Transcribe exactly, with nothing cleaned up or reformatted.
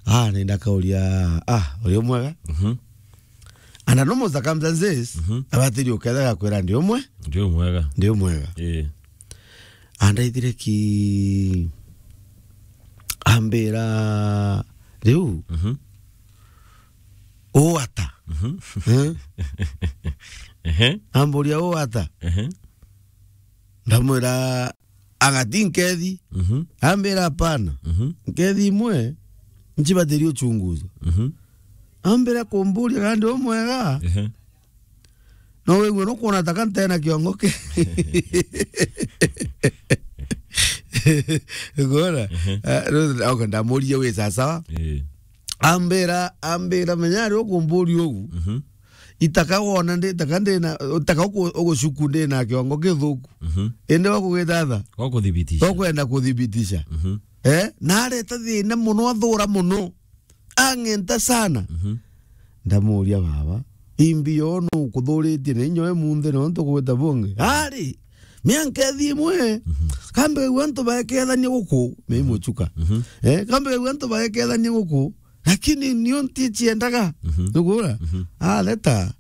Ah, nenda kauria, ah, uri umwega? Mhm. Under normal circumstances, Mhm. abatiri uketha gakwira ndi umwe, Ndi umwega. Ndi umwega. Eh. Andaithire ki ambira, riu, Mhm. uu ata? Mhm. Eh? Ehe. Amburia uu ata? Ehe. Ndamwira, ang'ati nkethi. Mhm. Ambira, hapana. Mhm. Nkethi imwe, nchibatiri uchunguzo. Mhm. Ambira kumburia kana ndi umwega. Ehe. No wigue nukwona ta ka ntena kiongo ki. Ukwona? Ehe. Ah, riu, okay, ndamurie wi sawa sawa. Eh. Ambira, ambira, menya ari ukumburia ugu. Mhm. Itaka wona ndi, itaka ndina, itaka uku-, ugucuku ndina kiongo kithuku. Mhm. Indi wa kugithatha. Wa kuthibitisha. Wa kwenda kuthibitisha. Mhm. Eh, na areta thina muno, athura muno. Ang'enta sana. Mhm. Ndamuria, baba, imbi yo nukuthuritie na inya we munthe nontu gwita bungi? Ari, mianka ithi imwe. Mhm. Kambe kaigua antu baekethania guku, mei muchuka. Mhm. Eh, kambe kaigua antu baekethania guku, lakini nio ntichiendaga. Mhm. Nugura? Mhm. Ah, leta.